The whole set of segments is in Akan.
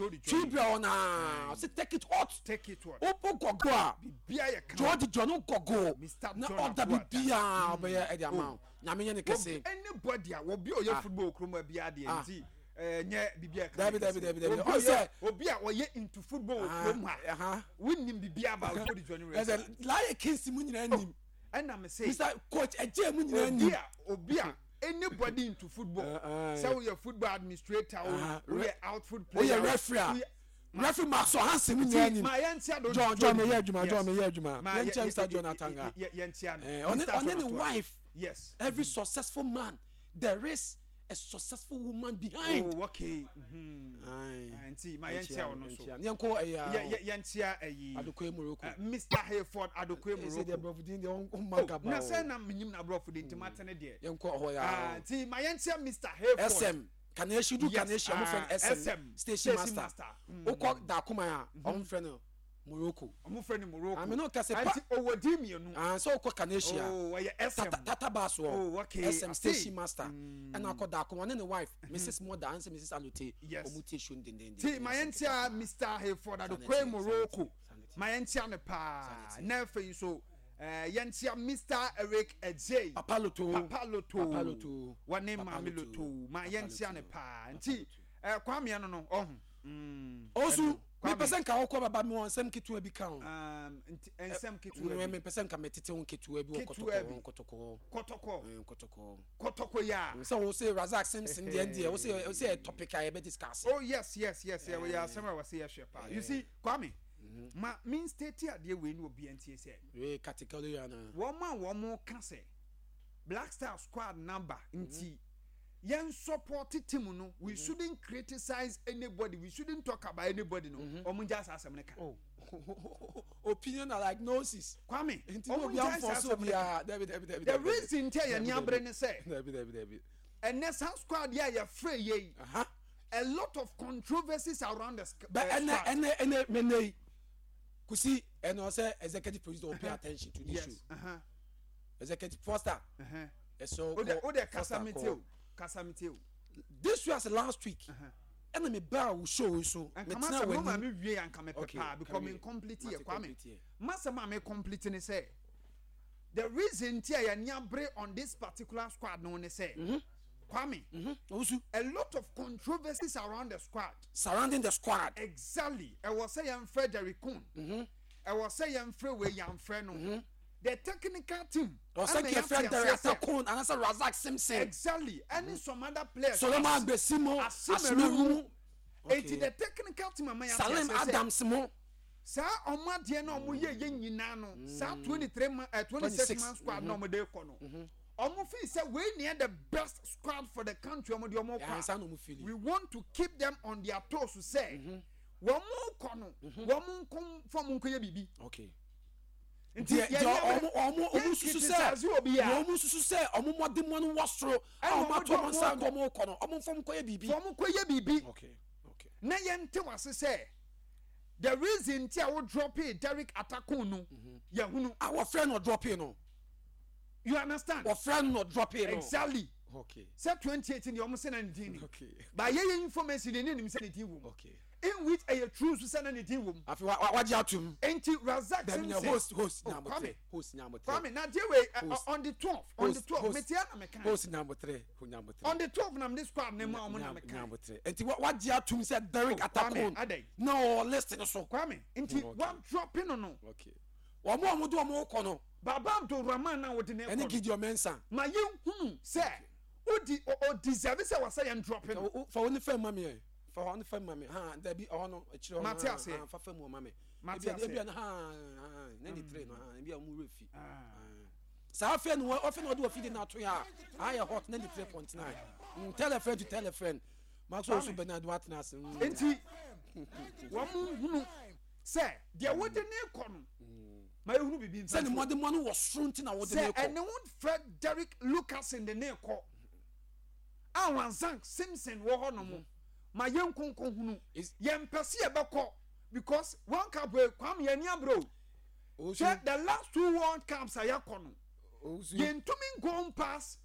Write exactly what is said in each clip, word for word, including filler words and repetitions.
Jody Johnny. Twi brɛ ɔnaa ɔsɛ take it hot. Take it hot. Wopo kɔgo a. Bibia yɛ kama. Jody Johnny kɔgo. Mister Na John ɔda Abuada. bibia ɔbɛyɛ ɛde ama wo. Nyame nyɛ ne kɛse. Anybody a obi a ɔyɛ Ah. football kurom bi adeɛ Ah. nti ɛnyɛ bibi a ɛka Dabi, ne dabi, kɛse. dabi, dabi. Obi a Ɔn ɔyɛ sɛ- obi a ɔyɛ into football wɔ Ah, kurom ha ɛha. wonim bibi about Jody Johnny Reza. Ɛsɛ Laryea Kingston mu nyinaa nim. Ɛna me se Mister Coach ɛgye mu nyinaa obi nim. a obi a anybody into football, Uh, uh, sɛ woyɛ football administrator o, Uh, woyɛ outfield player woyɛ o, referee a woyɛ- referee Maxwell Hansen mu nyinaa nim. Ma yɛntia do. John, John meyɛ adwuma, John meyɛ adwuma. Ma Yɛnkyia yɛ- Mister yɛ- John yɛ- Atanga. yɛ- yɛnkyia no. Eh, ɔne Mister ɔne John ne Atanga. wife. Yes. Every successful man, there is a successful woman behind. Oh, okay mhm. Aye. Ah, nti ma yɛnkyia ɔno so. Yɛnkyia. Yɛnkɔ ɛyɛ Yɛ- yɛ- yɛnkyia ɛyi Adokoe Morocco. eh, Mister Hayford Adokoe Ɛsɛ deɛ Morocco. brɔfo din deɛ ɔmma Oh, gaba na o. sɛ na menyim na aborɔfo de nti matene deɛ. Yɛnkɔ hɔ Ah, ya. nti ma yɛnkyia Mister Hayford. S M Kanehyi du. Yes, Kanehyi ɔmo frɛ ah, no S M S M, station station master. Master. Mm. Wokɔ Daakoma a, ɔmo frɛ no Morocco. Ɔmo frɛ no Morocco. Ame no kɛse pa. Nti ɔwɔ din mmienu. Ah, sɛ wokɔ Kanehyi a, Oh, ɔyɛ S M. tata tata bus wɔ Oh, okay. S M I station see. master. Ɛna akɔ Daakoma, ɔne ne wife Missus Mother anse Missus Alote. Yes. Ɔmo tie show no dendenden. Ti ma yɛnkyia Mister Hayford Adokoe Sanity, Morocco. sanity. Ma yɛnkyia no paa. Sanity. Na afei nso eh, yɛnkyia Mister Eric Ejay. Papa Loto. Papa Loto. Papa Loto. Wɔne Papa Maame Loto. Loto, ma Papa yɛnkyia no Loto. paa. Papa Nti Loto. eh, Kwame no no ɔho Mm, Osu ɛno. Kwame. mepɛ sɛ nka wokɔ baba, mi wɔ nsɛm ketewa bi ka ho. Um, nti nsɛm ketewa Mm, bi. Mepɛ sɛ nka metete wo nketewa bi wɔ Ketewa Kɔtɔkɔ bi. ho, Kɔtɔkɔ. Kɔtɔkɔ. Mm, Kɔtɔkɔ. Kɔtɔkɔ yi a. Sɛ wo sɛ Razak Simpson deɛ deɛ wo sɛ wo sɛ topic a yɛbɛ discuss. Oh yes yes yes yɛ yɛ asɛm a wɔsɛ yɛhwɛ paa. You see, Kwame, ma me state adeɛ wei ne obi ntie sɛ wei category ana. wɔn a wɔn ka sɛ Black Star squad number nti yɛn support team no, we shouldn't criticize anybody, we shouldn't talk about anybody no, wɔn ngya saa asɛm no ka. Oh, opinion are like noses. Kwame, nti wɔn obi ngya saa amfɔ so asɛm no ka. obiara, dabi dabi dabi. The Dabi reason nti a yɛn ni abere ne sɛ dabi dabi dabi. Ɛnɛ saa squad yɛ a yɛfrɛ yɛ yi, Aha. a lot of controversies around the sc- But uh, ɛnɛ squad. ɛnɛ ɛnɛ mɛnɛ yi kusi ɛnɛ ɔsɛ executive producer will pay attention to this yes show. uh-huh. Executive Foster Uh-huh. ɛsɛ o de o de kasa Foster mi kɔ. tie o, kasa mi tie o. This week as last week Uh-huh. ɛna mi baa wo show yi so Nka mɛ tena masɛm no ma w'anim. mi wie anka mepɛ Okay, paa because carry me on. complete Mate yɛ, Kwame. complete yɛ. Masɛm a me complete ne sɛ the reason ti a yɛn abere on this particular squad no ne sɛ, Kwame, Owusu, a lot of controversies around the squad. Surrounding the squad. Exactly. Ɛwɔ sɛ yɛn frɛ Derek Kuhn, ɛwɔ sɛ yɛn frɛ wei, yɛn frɛ no the technical team. Ɔsɛ ɛna kí yɛate efrɛ Derek aseɛ sɛ- Atakon anase Razak Simpson. Exactly, ɛne some other players. Solomon Agbesimo. Asimeru. Asimeru. Eti the technical team ama yɛate Salim aseɛ sɛ Adams mo. saa ɔmo adeɛ na ɔmo yɛ yɛ nyinaa no, saa twenty three man, ɛ twenty six man squad na ɔmo de kɔ no, ɔmo fi sɛ wei neɛ the best squad for the country ɔmo de ɔmo kɔ Yansa a na ɔmo feel. We want to keep them on their toes sɛ wɔn kɔ no, wɔn nko fɔm nko yɛ biribi. Okay Nti deɛ deɛ ɔmo ɔmo ɔmo susu sɛ criticize obi a ɔmo susu sɛ ɔmo mɔdemɔ no wɔ soro a ɛna ɔmo ɔmo ato de ɔmo nsa ɔmo de ɔmo kɔ no, ɔmo nfɔm kɔ yɛ biribi. Fɔm kɔ yɛ biribi. okay okay Na yɛn te wase sɛ the reason ti a wo drop Derek Atakun no, yɛhunu. A wɔfrɛ no drop no. You understand? Wɔfrɛ no drop no. Exactly. Okay sɛ twenty eighteen deɛ, ɔmo sɛ na ne din ni okay ba yɛyɛ information deɛ ne nim sɛ ne din wɔ mu, okay in which ɛyɛ true so sɛ na ne din wɔ mu. Afi wa wa wagye atum. Nti Razak Dabi nya Simpson. host host Oh, nyamutere. Kwame. Host nyamutere. Kwame, na deɛ wei ɛ, Host. on the twelve, on the Host, twelve host. metia na meka. Host nyamutere, nyamutere. On the twelve na mede squad ne mu a ɔmo na meka. Nyamutere, nti wa wagye atum sɛ Derek Oh, Kwame, Atakon adɛn? na ɔwɔ list no so. Kwame, nti Okay. wa drop no no Okay, wɔn a wɔn de wɔn kɔ no Baba Abdulrahman na wɔde ne ɛne kɔ no, Gideon Mensah. Ma yɛn hunu sɛ odi o o deserve sɛ wɔsɛ yɛn drop no. Fa wɔn ne fɛn ma mi yɛ, fa wɔn ne fɛn ma mi han, dabi, ɔhɔ no akyire hɔ no. Mate han, aseɛ. han, fa fɛn mu ɔma mi. Mate Ebi aseɛ. Ebi ha han ninety three no han, ebi a wɔn wura fi. Ah. Saa afei no ɔfɛ na ɔde wɔ fidi na ato yɛ a ayɛ Hot ninety three point nine. mm, tell a friend to tell a friend. Maxwell Osu Bernard watena ase mm. Nti wɔn mu hunu sɛ deɛ wɔde ne kɔ no, ma yɛhunu bibi sɛ ne nfa. mmɔdemmɔ no wɔ soro nti na wɔde ne Sɛ kɔ. ɛne wo frɛ Derek Lucasen de ne kɔ a Razak Simpson wɔ hɔ nom, ma yɛn nkonko hunu. Is- Yɛn mpɛ sɛ yɛbɛkɔ because World Cup wei, Kwame, yɛn ni abere o. Owusu. Hwɛ, the last two World Cups a yɛkɔ no, Owusu. yɛntumi go past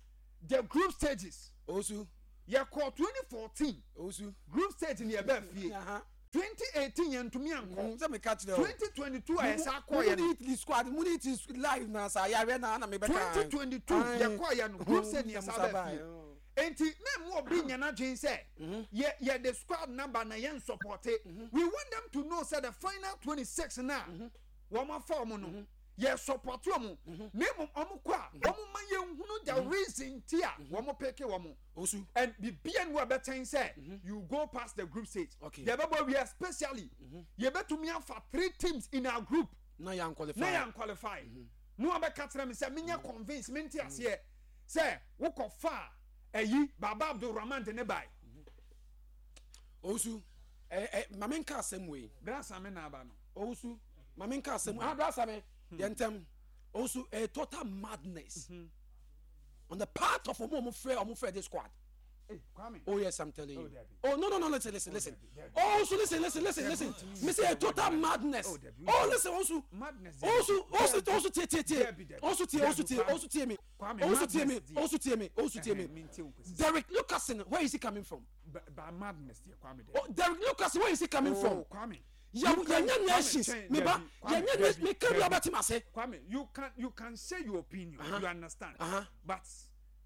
the group stages. Owusu. Yɛkɔ twenty fourteen Owusu. group stage ni yɛbɛ fie. Aha. Twenty eighteen yɛn ntumi ankɔ. Sɛ meka kyerɛ o. Twenty twenty two a yɛsa mo kɔɔyɛ ne no. Italy squad mo ne Italy live na sa yareɛ na na mebɛka. Twenty twenty two yɛkɔɔyɛ no, group stage ni yɛsa bɛ fie. Nti mɛmu obi nya n'adwene sɛ yɛ yɛ the squad number na yɛn support. We want them to know say the final twenty six na wɔn afa wɔn no, yɛ support wɔn, na emu wɔn kɔ a, wɔn ma yɛn hunu the reason ti a wɔn pick wɔn. Osu. And bibia ni wɔ bɛtɛn sɛ you go past the group stage. Okay. Yɛbɛbɔ wie, especially yɛbɛtumi afa three teams in our group na yɛn qualify. Na yɛn qualify na wabɛka kyerɛ me sɛ menyɛ convince, mente aseɛ sɛ wokɔ fa ɛyi Baba Abdulrahman de ne bae. Osu, ɛ ɛ maame, nka asɛm wei. Brasa me na aba no. Owusu, maame, nka asɛm ah, brasa me yɛn ntɛm. Owusu, a total madness on the part of ɔmo ɔmo frɛ ɔmo frɛ this squad. Hey, Kwame. Oh yes, I'm telling Oh, you. Debbie. Oh no no no listen, listen, listen. Debbie, Debbie. Oh, so listen, listen, listen, listen. Me say a total madness. Oh, Debbie. Oh, listen, also. Madness. Also, also, Debbie. also, tie, tie, tie. Debbie, Debbie. Also, tie, also, tie, Debbie, also, tie me. Kwame, Also, tie me. madness dear. Also, tie me. Also, tie me. Ɛhɛn, mente wo kwesi. Derek Lucasen, where is he coming from? Ba- ba madness deɛ, Kwame, Debbie. Oh, Derek Lucasen, where is he coming Oh, from? Kwame. Yeah, You can- yeah, Kwame, nations. change, Me ba, Debbie, Kwame, yeah, yeah, Debbie, me carry Debbie. about him, I say. Kwame, you can you can say your opinion, Uh-huh. you understand? Uh-huh. But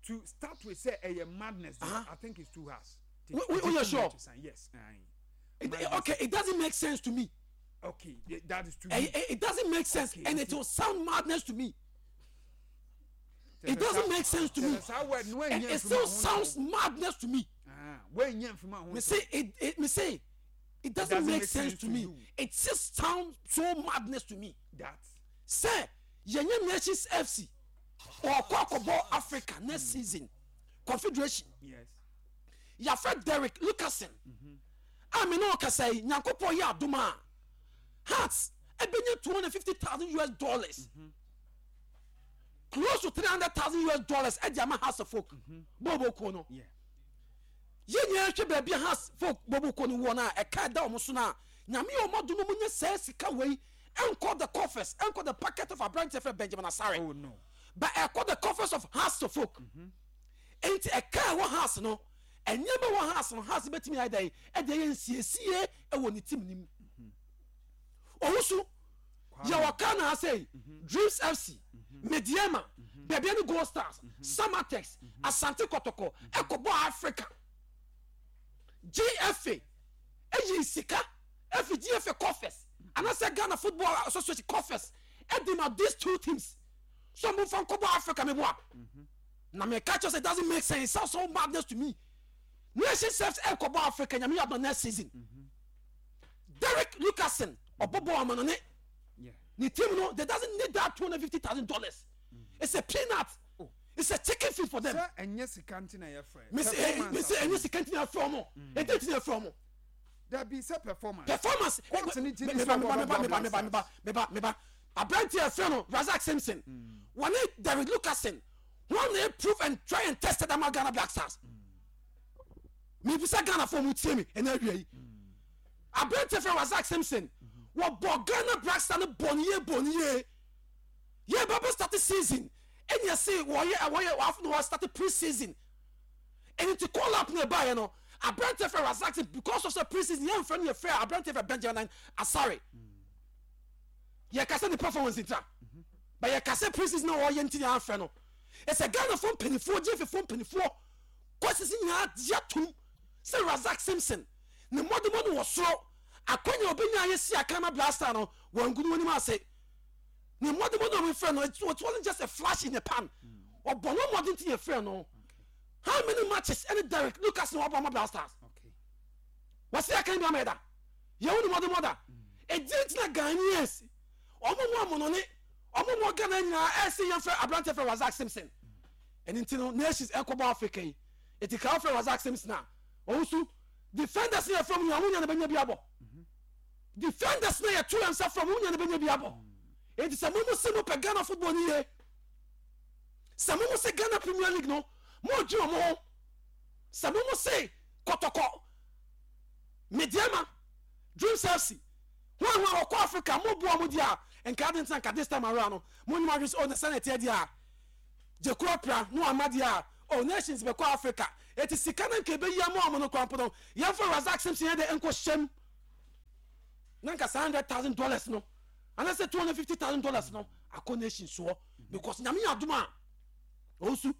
to start with say a madness, Uh-huh. I think it's too harsh. We- we- we are sure? Yes. Aye. It, Madness. okay, it doesn't make sense to me. Okay, yeah, that is too. Eh, eh, It, doesn't make sense, Okay, and it okay. will sound madness to me. It doesn't make sense to me. And it still sounds madness to me. Ah, when Me say it, it me say it doesn't, doesn't make, make sense, sense to to me. you. It just sounds so madness to me. That. Say yɛnyɛ Nations F C ɔkɔ akɔbɔ Africa next season Confederation. Yes. Yàfɛ Derek Lucasen a mi náà kasa yi, Nyankopɔn yɛ adum a, Hearts ɛbɛnya two hundred fifty thousand U S dollars, close to three hundred thousand U S dollars ɛdi ama Hearts of Oak bɔɔbɔ kuo no. Yeah. Yɛn nyinaa hwɛ baabi a Hearts folk bɔɔbɔ kuo no wɔ no a, ɛka ɛda wɔn so no a, Nyame yɛ ɔmo adum mu nye sɛɛ sika wei ɛnkɔ the coffers, ɛnkɔ the pocket of aberanteɛ fɛ Benjamin Asare, Oh no. but ɛkɔ the coffers of Hearts of Oak. Nti ɛka ɛwɔ Hearts no, ɛnneɛma wɔ Hearts no, Hearts bɛtumi ayɛ dɛ ɛde ɛyɛ nsiesie ɛwɔ ne team nim. Owusu, yɛwɔ Ghana ha sɛ Dreams F C, Medeama, Bibiani Gold Stars, Samatex, Asante Kɔtɔkɔ ɛkɔbɔ Africa, G F A ɛyi sika ɛfi G F A coffers anaasɛ Ghana Football Association coffers ɛdi ma these two teams so mo fa nkɔbɔ Africa. Mi bɔ a na meka kyerɛ sɛ it doesn't make sense. It sounds so madness to me. Nation F C ɛkɔbɔ Africa, Nyame yɛ adɔ, next season. Derek Lucasen ɔbɔbɔ amanone Yeah. ne team no, they doesn't need that two hundred fifty thousand dollars. It's a peanut. Oh. It's a chicken feed for them. Sɛ ɛnyɛ sika nti na yɛfrɛ. Me say eh, me say ɛnyɛ sika nti na ɛfrɛ ɔmo, ɛnti nti na ɛfrɛ ɔmo. Dabi, sɛ performance. Performance. Court ni ti ni meba sɛ meba meba ɔbɔ meba meba meba meba meba aberanteɛ ɛfrɛ no Razak Simpson wɔne Derek Lucasen wɔn na prove and try and tested ama Ghana Black Stars. Mebisa Ghana fo mu tie mi ɛna awia yi, aberanteɛ fɛ Razak Simpson wɔbɔ Ghana Black Star no bɔ ne yie, bɔ ne yie. Yɛ bɛbɛ start season ɛnyɛ se wɔyɛ wɔyɛ wɔafo na wɔ start pre season ɛni ti call up na ɛbaayɛ no, aberanteɛ fɛ Razak Simpson, because of sɛ pre season yɛn fɛ no, yɛ fɛ aberanteɛ fɛ Benjamin Asare. Yɛ kasa ne performance ntra, but yɛ kasa pre season na wɔyɛ nti yɛn afɛ no. Ɛsɛ Ghana fo mpanimfoɔ, gye fo mpanimfoɔ kɔsisi nyinaa gye atum sɛ Razak Simpson ne mmɔdemmɔ no wɔ soro. Akɔnya obɛnya ayɛ si akama Black Star no wɔn ngu no anim ase. Ne mmɔdemmɔ no a wɔfrɛ no, it wasn't just a flash in the pan. Ɔbɔ no mmɔden ti yɛ frɛ no. How many matches ɛne Derek Lucas na wabɔ ama Black Stars? Okay. Wɔsi akan bi ama yɛ da yɛwo ne mmɔdemmɔ da ɛdi ntina Ghanaians ɔmo mu amonɔne, ɔmo mu Ghana nyinaa ɛsi yɛn fɛ aberante fɛ Razak Simpson. Ɛne nti no, Nations ɛkɔbɔ Africa yi, eti kaa fɛ Razak Simpson a ɔwusu defenders yɛ fɛn mu nyinaa, ɔmo nyina bɛnya bi abɔ. Defenders na yɛ tu yɛn nsa fɛn mu nyina bɛnya bi abɔ. Eti sɛ mo mo se mo pɛ Ghana football ni yie, sɛ mo mo se Ghana Premier League no mo dwi ɔmo ho, sɛ mo mo se Kɔtɔkɔ, Medeama, Dreams F C wọn àwọn ọkọ Africa mo bu ọmọ di a, nka adi ntina nka this time around no mo nyuma ahwɛ sɛ oh, na sɛ na ɛteɛ di a gyekuro pra no ama di a, oh, Nations bɛkɔ Africa, eti sika no nka ebeyi ama ɔmo no kwan po no, yɛnfɔ Razak Simpson yɛ de nkɔ hyɛm. Na nka saa hundred thousand dollars no anaasɛ two hundred fifty thousand dollars no akɔ nation soɔ, because Nyame yɛ adom a, ɔnsu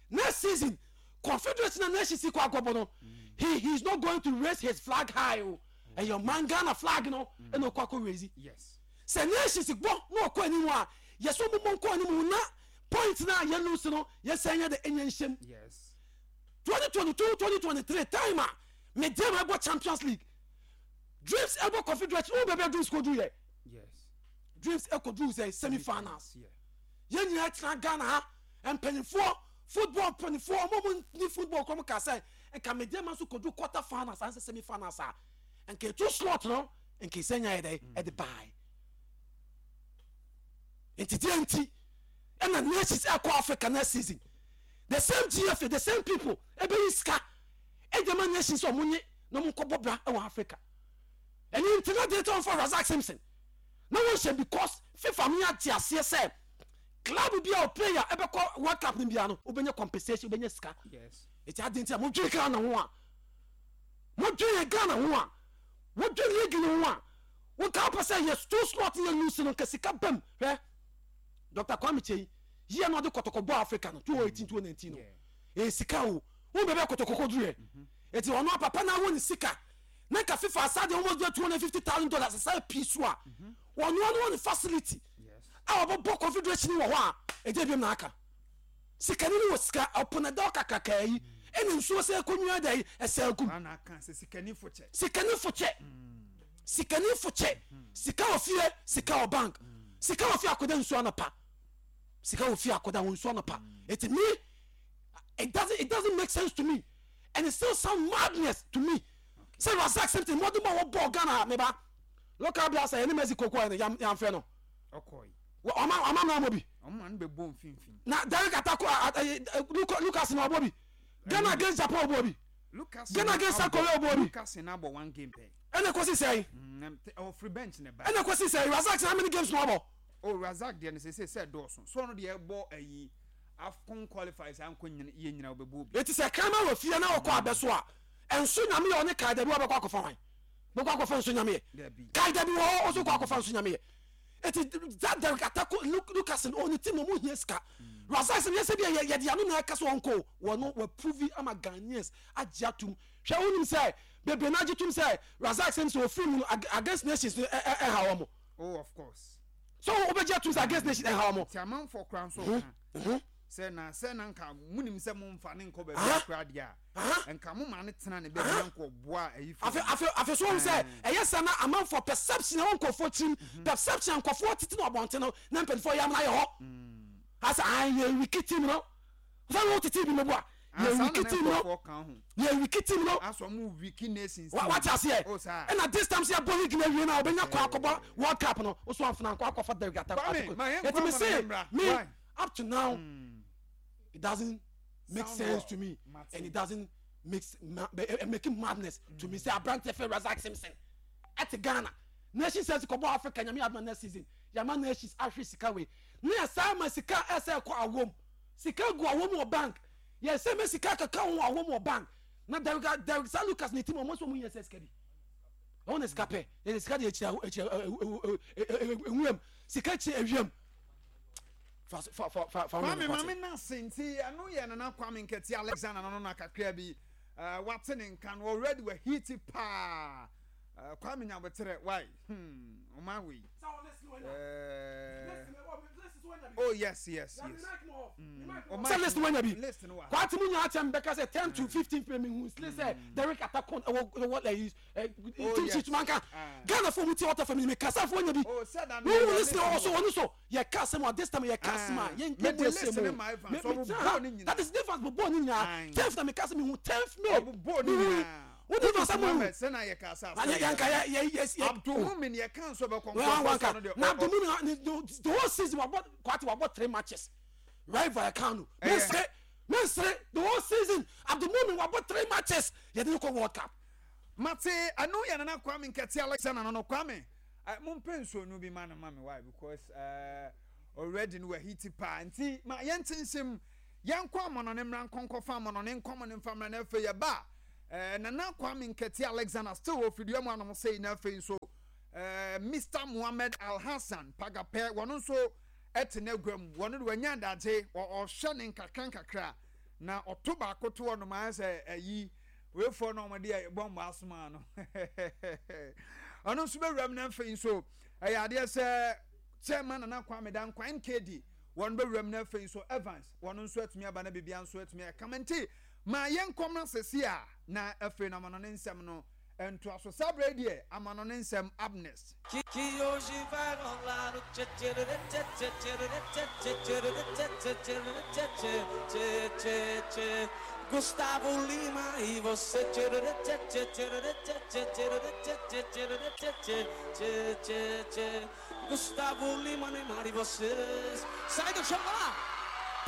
next season Confederation na nations kɔ akɔbɔ no, he he is not going to raise his flag high o. Ɛyɛ ɔman Ghana flag no ɛna ɔkɔ akɔ raise. Yes sɛ nations bɔ na ɔkɔ anim a, yɛsɛ ɔmobɔ nkɔ anim na point na yɛ lose no, yɛsɛ nyɛ de ɛnyɛ nhyɛm. Yes twenty twenty-two twenty twenty-three time a Medeama ɛbɔ Champions League, Dreams ɛbɔ Confederation, wo baabi a Dreams kɔdu yɛ? Yes Dreams ɛkɔduru sɛ semi finals. Yeah yɛn nyinaa tena Ghana ha, mpanyinfoɔ, football mpanyinfoɔ, ɔmo mo ni football kɔm ka sɛ nka Medeama nso kɔduru quarter finals ansɛ semi finals a, nka etu slot no nka esi nya yɛ dɛ ɛde baa. Nti deɛ nti ɛna nations ɛkɔ Africa next season, the same G F A, the same people ɛbɛyi sika ɛde ma nations sɛ ɔmo nye na ɔmo nkɔ bɔ bra ɛwɔ Africa. Ɛni nti na deɛ tí wɔn fɔ Razak Simpson na wɔn hyɛ, because FIFA mi ate aseɛ sɛ club bi a o player ɛbɛkɔ World Cup ni bia no, wobɛnya compensation, wobɛnya sika. Yes eti adi nti a modwene Ghana ho a, modwene yɛ Ghana ho a, modwene league no ho a, wonka wopɛ sɛ yɛ two slot yɛ lose no, nka sika bam. Hwɛ, Doctor Kwame Kyei yie na ɔde Kɔtɔkɔ bɔ Africa no twenty eighteen twenty nineteen no. Yeah. Ɛyɛ sika o. Wo bɛbɛ Kɔtɔkɔ kɔduru yɛ, eti ɔno apapa na awo ne sika na nka FIFA asa de almost two hundred fifty thousand dollars asa pii so a, ɔno ano wɔ ne facility yes a ɔbɛbɔ Confederation wɔ hɔ a, ɛgye biom na aka sikani no wɔ sika ɔpo na da ɔkakraka yi ɛna nsuo sɛ ɛkɔnwia da yi ɛsɛ agum. Ana aka sɛ sikani fo kyɛ. Sikani fo kyɛ, sikani fo kyɛ. Sika wɔ fie, sika wɔ bank, sika wɔ fie akɔda nsuo anɔpa, sika wɔ fie akɔda wɔ nsuo anɔpa. Eti me, it doesn't it doesn't make sense to me and it still sound madness to me sɛ Razak Simpson mɔden bɔ wɔbɔ Ghana meba local bi asa yɛne Mexico kɔ yɛn yɛnfrɛ no. Ɔkɔe. Wɔ- ɔma ɔma mena mɔ bi. Ɔmo ano bɛbɔ mfimfini. Na Derek Atako Lucas na ɔbɔ bi Ghana against Japan, ɔbɔ bi Lucas Ghana against South Korea, ɔbɔ bi. Lucas na abɔ one game pɛ. Ɛna kɔsi sɛn? Mm, ɔfiri bench ne ba. Ɛna kɔsi sɛn? Razak, how many games na ɔbɔ? O, Razak deɛ no sɛ sɛ dɔɔso so, ɔno deɛ ɛbɔ ayi AFCON qualifiers ankɔ nyina yɛ nyina ɔbɛbɔ bi. Eti sɛ kraman wɔ fie na ɔkɔ abɛ so a, ɛnso Nyame yɛ ɔne kae dabi wɔbɛkɔ akɔfa hwan bɛkɔ akɔfa nso Nyame yɛ. Dabi. Kae dabi wɔ hɔ ɔso kɔ akɔfa nso Nyame yɛ. Eti that Derek Atako Lucas no, ɔne team na ɔmo hia sika. Razak sɛ yɛsɛ bi yɛ yɛde ano na ɛka so ɔnkɔ wɔ no, wɔ prove ama Ghanaians agye atum. Hwɛ, wonim sɛ bebree na agye tum sɛ Razak sɛ sɛ ofiri mu no against nations no ɛ ɛ ɛha wɔn. Oh, of course. So wobɛgye atum sɛ against nations ɛha wɔn. Ti amanfoɔ kora nso ka sɛ na sɛ na nka munim sɛ momfa ne nkɔ baabi akora deɛ a, nka mo ma ne tena ne baabi na nkɔ boa ayi fo. Afe afe afe so wɔn sɛ ɛyɛ sɛ na amanfoɔ perception ɛwɔ nkɔfoɔ tirim, perception nkɔfoɔ tete na ɔbɔnten no na mpanyinfoɔ yɛ amuna yɛ hɔ asa ayi yɛ weak team no sɛ wɔn tete bi mu bu a yɛ weak team no, yɛ weak team no. Asɔ mu weak nations. Wa wate aseɛ. O saa. Ɛna this time sɛ yɛbɔ league na awie na ɔbɛnya kɔ akɔbɔ World Cup no, woso amfena nkɔ akɔfa Derek Ata. Kwame, ma yɛn ɛti nkɔ me ama se na yɛmmra. me Why? up to now it doesn't make Sound sense well. to me. Mate. And it doesn't make ma eh, eh, making madness to me sɛ aberante fɛ Razak Simpson ɛte Ghana nations sɛ kɔbɔ Africa. Nyame adoma, next season yàmà nations ahwɛ sika wei ne yɛ saa ma sika ɛsɛ ɛkɔ awom, sika gu awom wɔ bank, yɛ sɛ mɛ sika kaka ho awom wɔ bank na Derek Derek sa Lucas ne team ɔmo nso ɔmo yɛ sɛ sika bi ɔmo na sika pɛ yɛ sika de ekyir ekyir ewuram sika kyerɛ ewiem fa fa fa fa fa. Kwame, maame nase nti ɛno yɛ Nana Kwame Nkɛte Alexander no no na kakra bi uh, wate ne nka no already wɔ heat paa. uh, kwame Nyaboterɛ why hmm ɔman wei. uh, oh yes yes yes mm. Sɛ list wanya bi. List no wɔ ha. Kwate mu nyinaa kyɛn bɛka sɛ ten to fifteen pɛ mi hu sile sɛ Derek Atakon ɛwɔ ɛwɔ ɛyi ɛ team yes. sheet manka. Ah. Ghana fo mu ti ɔtɔ fɛ mi mi kasa fo wanya bi. Oh, sɛ da no wo yɛ wu list list wɔ no so wɔ. wɔn so yɛ ka asɛm a, this time yɛ ka asɛm a Ah. yɛn Mede yɛn mu list ɛsɛ ne mu ma Evans, Me- ɔmo me tena bɔɔ ha. ne nyinaa. That is difference bɔ bɔɔ ne nyinaa. Aye. Tenth na mi ka sɛ mi hu tenth May. Ɔmo bɔɔ ne Mi hu nyinaa. wo difference sɛ mo hu. Sɛ na yɛ ka sa. Na yɛ yɛn ka yɛ yɛ yɛ yɛ Abdulmumin yɛ ka nso bɛkɔ. Well, nkɔfɔ wanka so no deɛ, na ɔ- ɔ- Abdulmumin ne the whole season wabɔ, Kwate wabɔ three matches, right? Vallecano. Ɛyɛ. Mensere mensere, the whole season Abdulmumin wabɔ three matches, yɛde ne kɔ World Cup. Mate, ɛno yɛ Nana Kwame Nkɛte Alexander no no Kwame, uh, mompɛ nsuonu bi ma no ma me why, because uh, already no wahiti paa nti ma yɛnte nsɛm yɛnkɔ amɔnɔne mmra nkɔnkɔfa amɔnɔne nkɔmɔ ne mfa mmra. Na afei yɛba uh, Nana Kwame Nkɛte Alexander still wɔ fidua mu anom sei. Na afei nso uh, ɛɛ Mister Mohammed Alhassan Pagapɛ, wɔn nso ɛte n'agua mu. Wɔn de wɔanya adagye, ɔhwɛ ne nkakra nkakra na ɔto baako to hɔ nom ayɛ sɛ ɛyi weifoɔ na wɔde bɔmbo asoma no. Ɔno nso bɛwura mu. Na afei nso ɛyɛ adeɛ sɛ Chairman Nana Kwame Dankwa N K D wɔn bɛwura mu. Na afei nso Evans, wɔn nso atumi aba na biribia nso atumi ɛkama. Nti ma yɛn nkɔm sisi a na afei na amano ne nsɛm no ntoa so. Saa berɛ deɛ, amano ne nsɛm up next. Que, que hoje vai rolar o tchê tchê tchê tchê tchê tchê tchê tchê tchê tchê tchê tchê tchê Gusttavo Lima e você tchê tchê tchê tchê tchê tchê tchê tchê tchê tchê tchê tchê Gusttavo Lima, Neymar e vocês. Sai do chão, lá!